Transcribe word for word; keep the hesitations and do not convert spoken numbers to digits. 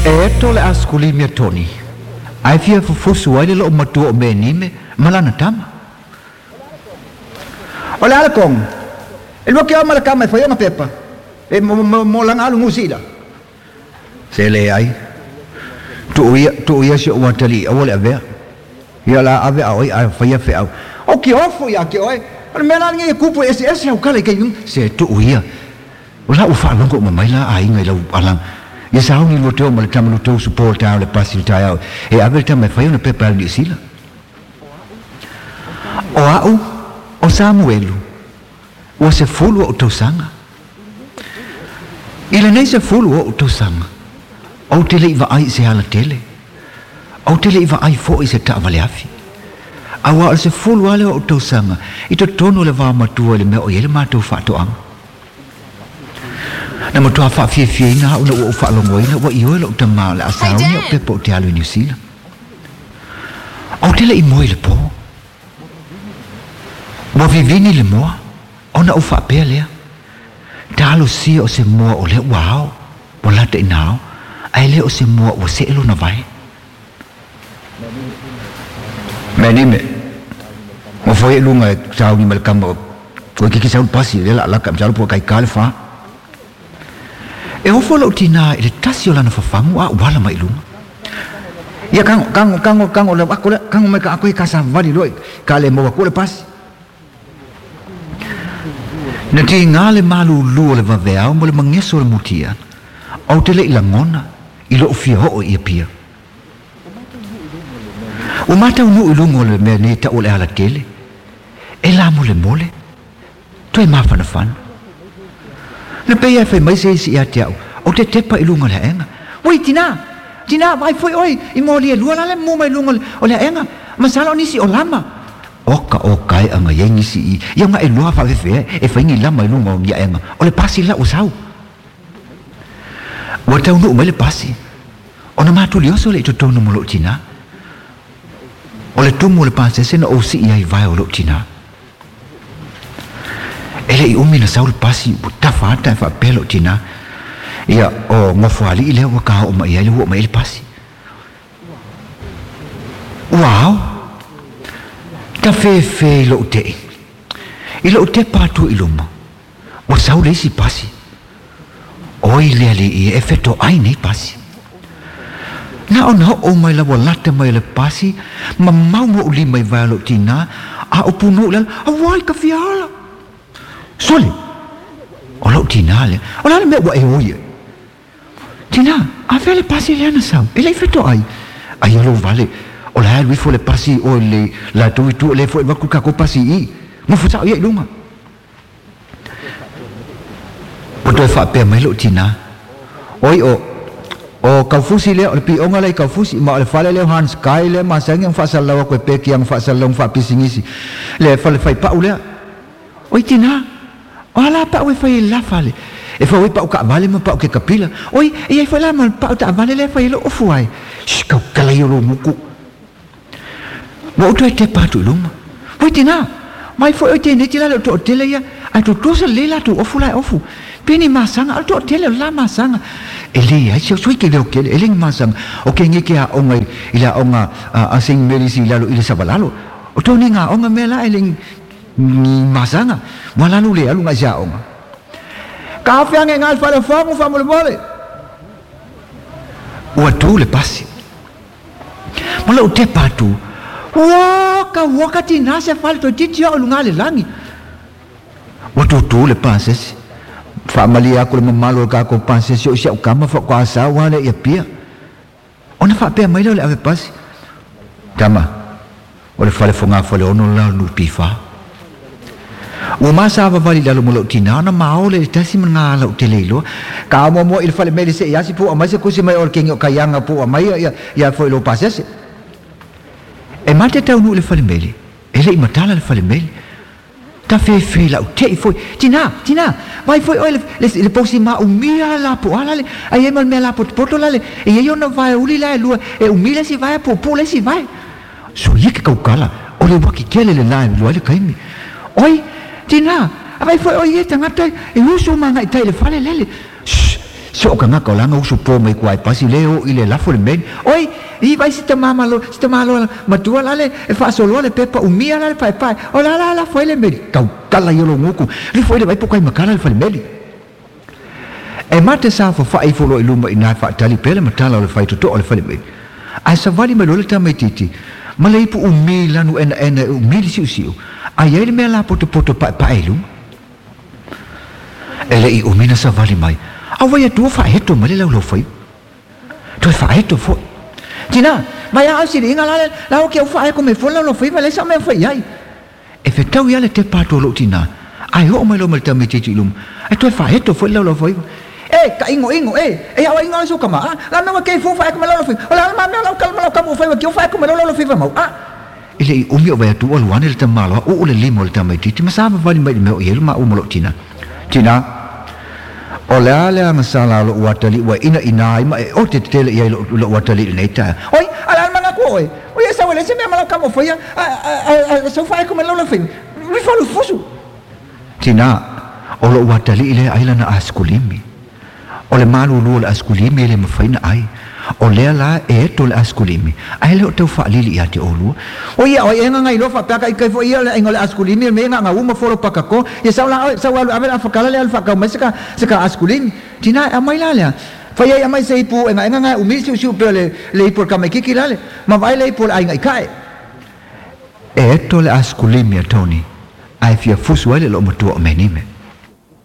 E eto le askuli mea toni. Ai fia fufusu ai le loo matua o mea nime, malana tama. O le ala kong, e lua ke o mala kama e whai o pepa, e mo, mo, mo langa alu ngusila. Se le ai, tu ia, tu ia si o watali, awa le avea. Ia la ave au ai, ai whai a wheau. O ki ofu ia ke oe, o le mea la ngi e kupu e ese ese au kala i kei nung. Se tu ia, o la uwha longo o mamai la a inga i lau alang. Ia sa hongi lua teo ma le tama lua teo su tau le pasi le tai au. E ave le tama e whai o na pepa au ni sila. O au, o Samuelu, ua se fulu o tausanga. I le nei se fulu o tausanga, au te le iwa ai se ala tele. Au te le iwa ai fo i se taavale afi. Aua o se fulu ale o tausanga, i to tono le vā matua le mea o iele mātou whaatoanga. Na matua whaafia ina au na ua o whaalongoina ua i oe lo tamā le asauni o pepa o te alu i New Zealand. Au te le i moe le pō. Ua vivini le moa, ona o whaapea lea. Talo sia o se moa o lea ua ao, ua lata ina ao, ai lea o se moa ua se elo na vai. Mea nime, mo foi e lunga e sauni ma le kama, koe kiki sauni pasi, le la laka, msalo pua kai kale wha. E ofo lau tina i le tasi o lana whafangu a wala mai lunga. Ia kango, kango, kango, kango, le ako le, kango mai ka ako i kasa vali loi, ka le moa kule pasi. Na ti ngā le malu lua le vaveau mo le mangeso le mutia. Au te le i langona, i lo fia hoo i pia. O matau nu i lungo le mea nei ta o le ala tele. E la mo le mole, toe mawhana whana. Na pei e whai mai se isi ia te au, o te tepa i lunga le enga. Oi, tina, tina, vai foi oi, i mō lia lua lale mō mai lunga o le enga, masala o nisi o lama. Oka o kai anga iai nisi i, ia nga e lua whawewhea, e whaingi lama i lunga o ngia enga, o le pasi la o sau. Ua tau nuu mai le pasi, o na mātuli oso le i totonu mo loo tina. O le tumu o le pasese na o si ia i vai o loo tina. E le i umi na sau le pasi, ua tafa ata e whaapea loo tina. Ia o ngofuali i lea ua kaha o mai ai le hua mai le pasi. Ua au, ta whewhe i loo te. I loo te pātu i luma, ua sau le isi pasi. Oi lea le ia e wheto ai nei pasi. Na o na o mai la ua lata mai le pasi, ma mau mo uli mai vai loo tina, a o puno lala, a wai ka fiala. Sole, o lau tina le, o lale mea ua e oie. Tina, a fea le pasi le ana sau, e lei wheto ai. Ai alo vale, o la alu ifo le pasi o le la tui tu le fo e waku kako pasi i. Mo fusa o ia i lunga. O toe whaapea mai loo tina. Oi o, o kaufusi lea, o le pionga lea i kaufusi, ma o le fale lea o Hans Kai lea, ma sangi ang whaasalawa koe peki ang whaasalawa ang whaapisingisi. Le fale whai pau lea. Oi tina, o ala pau e whai la fale. E whai pau ka vale ma pau ke kapila. Oi, e ai whai la ma pau ta vale lea whai lo ofu ai. Shh, kau kalai o lo muku. Wa utu e te pātu i luma. Oi tina, mai foi oi tēnei tila le o tō tele ia, ai tō tōsa le la tō ofu lai ofu. Peni masanga, al tō tele o la masanga. E le ai, sio sui ke leo kele, e le masanga. O ke nge ke a onga i la onga a sing melisi i lalo i le sabalalo. O tō ni ngā onga mea la e le masanga. Wa lalo le alu ngā sia onga. Ka awhiange ngā whare whangu wha mole mole. Ua tū le pasi. Ma lau te pātu, waka waka tina se fale to titi o lunga le langi. Ua tūtū le pasesi. Whaamali ako le mamalo ka ko pasesi o sia o kama wha kwa asawa le ia pia. Ona whaapea mai leo le ave pasi. Tama, o le whale whanga whale ono la nu piwha. Ua masa awawali lalo mo lau tina, ona maole le tasi mga lau te leiloa. Ka amoa moa i le whale mele se iasi po amai se kusi mai o le kengi o kaianga po amai ia, ia fo i lo pasesi. E mate tau nu le whale mele, e le i matala le whale mele. Ta whewhe lau te i foi, tina, tina, vai foi oi le, le, le posi ma umia la po ala le, ai e mal mea la po poto lale, e e ona vai uli la e lua, e umila si vai, po po le si vai. So ia ke kaukala, o le waki kele le la e lua le kaimi. Oi, tina, a vai foi oi e tangata, e uso manga i tai le whale lele. Shh, So ka ngaka langa usu po mai kuai pasi le o ile lafo le men. Oi, i vai si tamama lo, si tamalo matua lale e fa solo le pepa umia lale pai pai. O la la la foi le meli. Kau tala yolo nguku. Li foi le vai pokai makala le fale meli. E mate sa fa fa ifo lo iluma ina fa tali pele matala o le fai toto o le fale meli. Ai sa vali mai lo le tamai titi. Male ipu umi lanu ena ena umi li siu siu. Ai ai le mea la poto poto pa pa ilu. Ele i umina sa vali mai. Awa ia tua fa heto male lau lau fai. Toi fa heto fo. Tina, mai au siri inga la la o ke fa e ko me fo lau lau fai vale sa me fai ai. E fe tau ia le te pato lo tina. Ai ho mai lo mal tami titi lum. E toi fa heto fo lau lau fai. E ka ingo ingo e e au ingo so kama. La me ke fo fa e ko me lau lau fai. O la ma me lau kal lau kamu fai ke fa e ko me lau lau fai mau. Ah. Ele i umi o vai atu alu ane le tamalo o le limo le tami titi ma sa vali mai me o ielu ma o mo tina. Tina. O le ale anga sala lo watali wa ina ina ai ma e o te tele ia lo lo watali nei ta. Oi ala manga ko oi. Oi esa wele se me mala kamo foi a a so fa ko me lo lo foi. Mi fa lo fusu. Tina o lo watali ile ai lana askulimi. O le malu lu le askulimi le mafaina ai. O lea la e to le askulimi. Ai le o tau fa lili ia te olu. O ia o enga ngai lo fa paka i kai fo ia le ingo le askulimi me nga nga uma folo paka ko. Ia sau la sau alu ave la fakala le alfa ka mai seka seka askulimi. Tina a mai la le. Fa ia mai se ipu enga enga ngai umi siu siu pe le le ipu ka mai kiki la le. Ma vai le ipu ai ngai kai. E to le askulimi a Tony. Ai fia fusu ai le lo matua o menime.